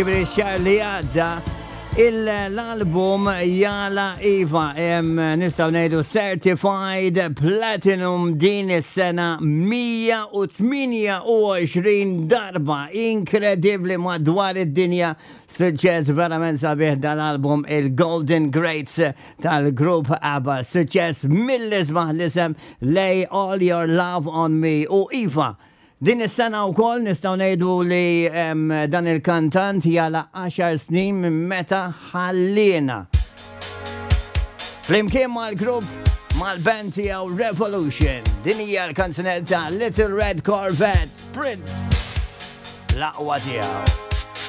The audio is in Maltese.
Ġifieri x-xahar li għadda l-album jala iva nistgħu ngħidu certified platinum din is-sena 128 darba inkredibbli madwar id-dinja suċċess verament sabiħ dal-album il-Golden Greats tal-grupp ABBA suċċess mill-isbaħ l-isem Lay All Your Love on Me u iva Din is-sena wkoll nistgħu ngħidu li dan il-kantant jagħlaq għaxar snin minn meta ħalliena. Flimkien mal-grupp mal-band tiegħu Revolution. Din hija l-kanzunetta Little Red Corvette Prince. L-aqwa tiegħu.